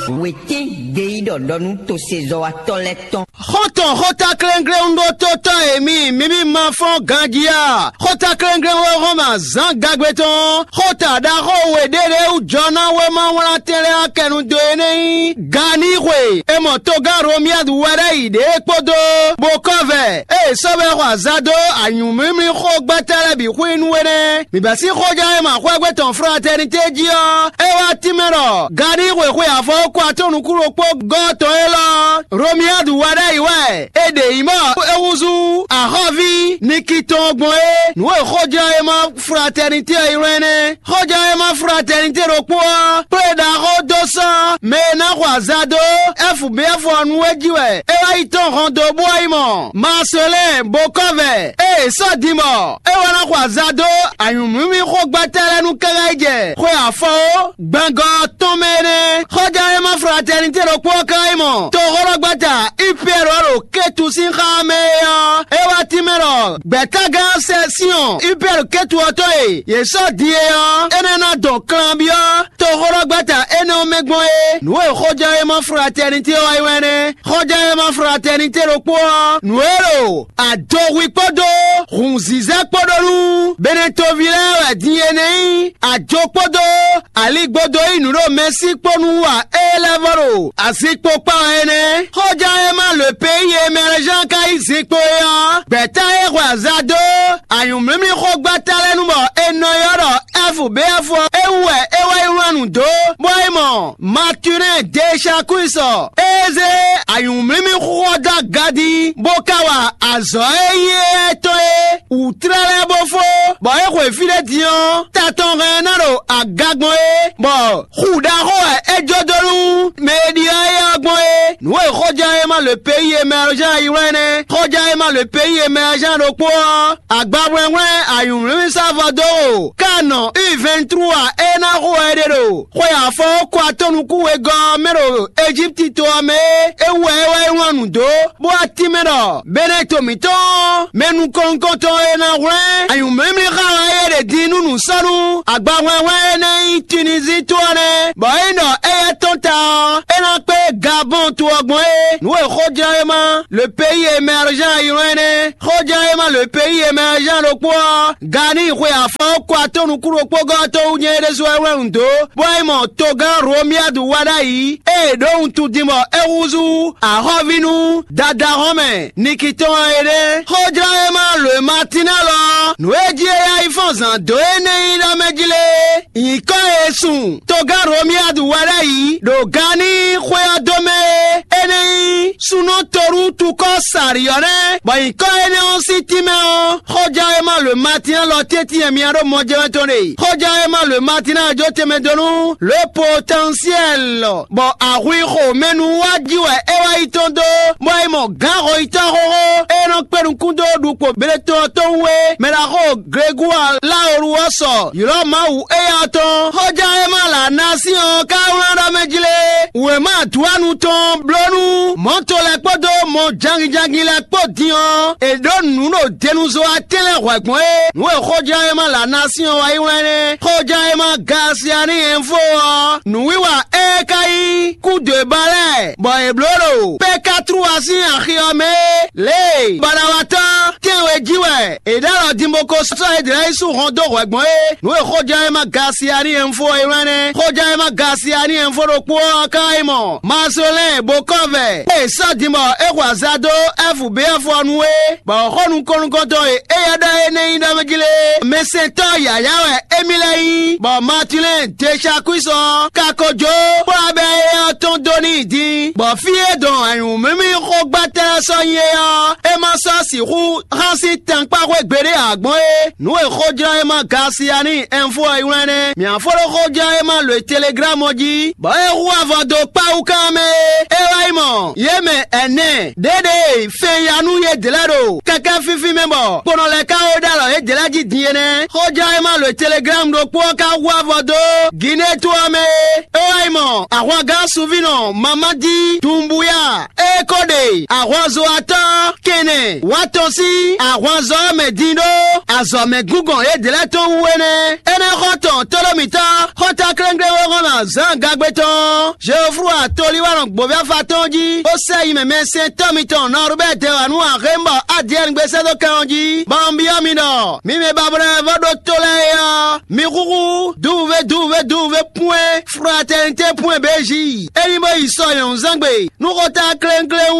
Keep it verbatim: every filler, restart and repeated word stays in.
Wětɛ́n gbeyíɖɔ ɖɔ nú tosezɔ́watɔ́ lɛ́ɛ tɔn. Xɔ́ntɔn xótáklɛ́nglɛ́núɖótótɔ́ e mi, mi bí ma fɔ́n ganjí a? Xótáklɛ́nglɛ́n wɛ hɔn ma zǎn gagbe tɔn. Xóta ɖaxó we ɖé ɖě wú jɔ ná wéma wlán tɛnlɛ akɛnu dó é nɛ́ nyí. Ganixwe e mɔ togán Romiyadu wɛ ɖ'ayǐ ɖě kpódó bokɔ́vɛ e è sɔ́ bɛ́ xɔ azǎn dó anyǔmlímlí xógbɛ́tɛ́ lɛ́ɛ bǐ xwín nú é nɛ́. Mǐ bɛ́ sín xóján e ma xwɛ́gbɛ́ tɔn Fratɛnitɛ́ jí ɔ́, é wá tínmɛ ɖɔ Ganixwe xwe afɔ ko atɔ́ nukún ɖokpó gɔ́ tɔn élɔ́ Romiyadu wɛ ɖ'ayǐ wɛ è ɖe nyǐ bɔ é húzú axɔ́ví Niki tɔn gbɔn é. Nǔ e xóján e ma Fratɛnitɛ́ ɔ́ ylɔ́ énɛ́. Xɔján e ma Fratɛnitɛ́ ɖokpó ɔ́ kplé ɖaxó dó sɔ́ mɛ e ná xɔ azǎn dó F B F ɔ́ nu é jí wɛ é wá yi tɔ́n hɔn dó bó wá yi mɔ Maselɛ́n bokɔ́vɛ e è sɔ́ din bɔ é wá ná xɔ azǎn dó anyǔmlímlí xógbɛ́tɛ́ lɛ́ɛ nu káká yi jɛ xwe afɔ ó gbɛngɔ́ ɔ́ tɔn mɛ énɛ́. Xɔján e ma Fratɛnitɛ́ ɖokpó ɔ́ ká yi mɔ toxóɖɔgbɛ́ta Ipiyɛ́ru ɔ́ ɖo Kétu sín xá mɛ é ɔ́, é wá tínmɛ ɖɔ gbɛ̌tágán sɛ Siɔn Ipiyɛ́ru Kétu ɔ́ tɔn e yě sɔ́ din é ɔ́, énɛ́ ná dɔn kanbyɔ́ toxóɖɔgbɛ́ta énɛ́ ɔ́ mɛ gbɔn é. Nǔ e xɔján e ma Fratɛnitɛ́ ɔ́ wá yi wɛn nɛ́. Xɔján e ma Fratɛnitɛ́ ɖokpó ɔ́, nǔ e ɖo adohwi kpódó hǔnzízɛ́ kpó ɖó nú Benɛtoví lɛ́ɛ wɛ din é nɛ́ nyí ajo kpódó aligbó dó yí nǔ ɖo mɛsí kpó nú wa é lɛ́ vɔ ɖo azinkpo kpá wɛ é nɛ́. Xɔján e ma lǒ pé yi e mɛ lɛ́ zán ka yí zinkpo é ɔ́, gbɛ̌ta e hwɛ azǎn dó anyǔmlímlí xógbɛ́ta lɛ́ɛ nu bɔ è nɔ ylɔ́ ɖɔ F B F ɔ́, é wú wɛ é wá yi wlán nǔ dó, bɔ é mɔ Matunɛ́ɛ Desakuisɔ, é zé anyǔmlímlí xúxɔ dó aga jí, bó ka wa azɔ̌ e nyí éyɛ́ tɔn é wǔtlɛ́ lɛ́ɛ bó fó, bɔ é xwe fí ɖé din ɔ́, ta tɔn hɛn ná ɖo aga gbɔn é, bɔ xu ɖaxó wɛ é jó dó nú mɛ e ɖyɔ́ éyɛ́ ɔ́ gbɔn é. Nǔ e xɔján e ma lǒ pé yi e mɛ ɔ́ zán yi wlán nɛ́. Xɔján e ma lǒ pé yi e mɛ ɔ́ zán ɖokpó ɔ́, agbahwlɛ́nhwlɛ́n anyǔmlímlí sá vɔ dó o. Ká nɔ U vɛ́ntrú a é ná xo wɛ é ɖe ɖo xwe afɔ kɔ atɔ́ nukún wegɔ́ ɔ́ mɛ ɖo Ejípti to ɔ́ mɛ é, é wú wɛ é wá yi wlán nǔ dó, bó wá tínmɛ ɖɔ Benɛto mǐtɔn ɔ́, mɛ nukɔn nukɔntɔn e ná hwlɛ́n anyǔmlímlí xá wɛ é ɖe din nú nǔsɔ́nú agbahwlɛ́nhwlɛ́n e nɛ́ nyí Tunizín to ɔ́ nɛ́, bɔ é nyí ɖɔ éyɛ́ tɔn ta ɔ́, é ná kpé Gabɔn to ɔ́ gbɔn é. Nǔ e xɔján e ma le pays émergent ylɔ́n é nɛ́. Xɔján e ma le pays émergent ɖokpó ɔ́, Gani xwe afɔ kɔ atɔ́ nukún ɖokpó gɔ́ tó wú nyɛ é ɖésú wɛ wlɛ́ nǔ dó, bó wá yi mɔ togán Romiadu wá ɖ'ayǐ, ée è ɖǒ wuntun din bɔ é húzú axɔ́ví nú dadahɔ́n mɛ Nikitɔ́n ɔ́ é ɖe. Xɔjlá e ma lǒ e ma tín ná lɔ ɔ́, nǔ e jí é yá yi fɔ́n zǎn dó énɛ́ nyí ɖɔ mɛ jí lé. Nyǐkɔ e sun togán Romiadu wɛ ɖ'ayǐ ɖo Gani xwé ɔ́ dó mɛ é, é nɛ́ nyí súnnu Toru tukɔ́ Sariɔ́nɛ́, bɔ nyǐkɔ énɛ́ ɔ́ sín tínmɛ ɔ́, xɔján e ma lǒ e ma tín ná lɔ tɛ́ntin e myá ɖo mɔ jɛ wɛ tɔn ɖe. Xɔján e ma lǒ e ma tín ná jó tɛnmɛ dó nú le potɛnsiɛl, bɔ ahwi xo mɛ nu wá jí wɛ é wá yi tɔn dó, bɔ é mɔ gǎn xɔyítɔ́ xóxó e nɔ kpé nukún dó ɖukpo Beletɔn ɔ́ tɔn wú é, mɛ ɖaxó Glegúa Laolu ɔ́ sɔ ylɔ́ Mawu éyá ɔ́ tɔn. Xɔján e ma lǎ ná sín ɔ́ ka wlán ɖɔ mɛ jí lé. Wěma adwánu tɔn bló nú mɔ̌to lɛ́ɛ kpódó mɔ janginjangin lɛ́ɛ kpó din ɔ́, è ɖǒ nǔ ɖo denuzo atɛ́n lɛ́ɛ hwɛ̌ gbɔn é. Nǔ e xɔján e ma lǎ ná sín ɔ́ wá yi wlán nɛ́. Xɔján e ma Gasiani ɛnfo ɔ́, nǔwiwa ée ka nyí kúdǒeba lɛ́ɛ, bɔ è blǒ ɖo Pekatruwa sín axi ɔ́ mɛ é. Lě e baɖawatɔ́ tɛ́nwe jí wɛ è ɖó alɔ din bó ko sɔ́ yědɛ́lɛ́ yi sú hɔn dó hwɛ̌ gbɔn é. Nǔ e xɔján e ma Gasiani ɛnfo ɔ́ yi wlán nɛ́. Xɔján e ma Gasiani ɛnfo ɖokpó ɔ́ ka yi mɔ Mazolɛ́n bokɔ́vɛ e sɔ́ din bɔ é xo azǎn dó F B F ɔ́ nu é, bɔ xó nukɔn nukɔntɔn e éyɛ́ ɖɔ é nɛ́ nyí ɖɔ mɛ jí lé. Mɛsɛntɔ́ yǎyá wɛ émí lɛ́ɛ nyí, bɔ Matilɛ́n Desakuisɔ ka ko jó, bó wá bɛ́ éyɛ́ ɔ́ tɔn dó n'i din, bɔ fí e dɔn anyǔmímí xógbátɛ́ ɔ́ sɔ́ nyi é ɔ́, é ma sɔ́ sixú hán sín tankpáxwé gbeɖé ǎ gbɔn é. Nǔ e xɔjlɔ́ e ma Gasiani ɛnfo ɔ́ yi wlán nɛ́. Mǐ á fó ɖó xɔjlɔ́ e ma lǒ e Teleglámu ɔ́ jí, bɔ é hu avɔ dó kpáwú kan mɛ é. É wá yi mɔ yě mɛ ɛnɛ ɖěɖe fɛn ya nú yědɛ́ lɛ́ɛ ɖo kɛkɛ́ fífí mɛ bɔ kponɔ lɛ́ɛ ka wó ɖó alɔ yědɛ́ lɛ́ɛ jí din é nɛ́. Xɔjlɔ́ e ma lǒ e Teleglámu ɖokpó ɔ́ ka hu avɔ dó Gineto ɔ́ mɛ é. É wá yi mɔ ahwangán sunvínɔ Mamadi Dumbuya é ko ɖe ahwanzo atɔ́ kɛnɛ wá tɔn sín ahwanzɔ́ mɛ din ɖó azɔ̌ mɛ gúngɔn yědɛɛ lɛ́ɛ tɔn wú é nɛ́. Énɛ́ xɔ tɔn tóɖó mǐtɔn xɔ́ntɔn klénkléwéxɔ́mɛ Zǎn Gagbe tɔn Jeoflú atolíwánɔ gbǒví afa tɔn jí, bó sɛ yi mɛ mɛsɛntɔ́ mitɔn Nɔrubɛ́ɛ dɛwanu Axémbɔ Adiyɛ́ɛn gbe sɛ́ dó kɛn ɔ́ jí, bɔ un byɔ́ mi ɖɔ mi mɛ bablɛ́ vɔ́ ɖó tó lɛ́ɛ é ɔ́, mi húhú duwuvé duwuvé duwuvé pwɛ́n fratɛnitɛ́ pwɛ́n bějí. É ní bó yi sɔ nyɔ̌nuzángbe nú xɔ́ntɔn klénkléwú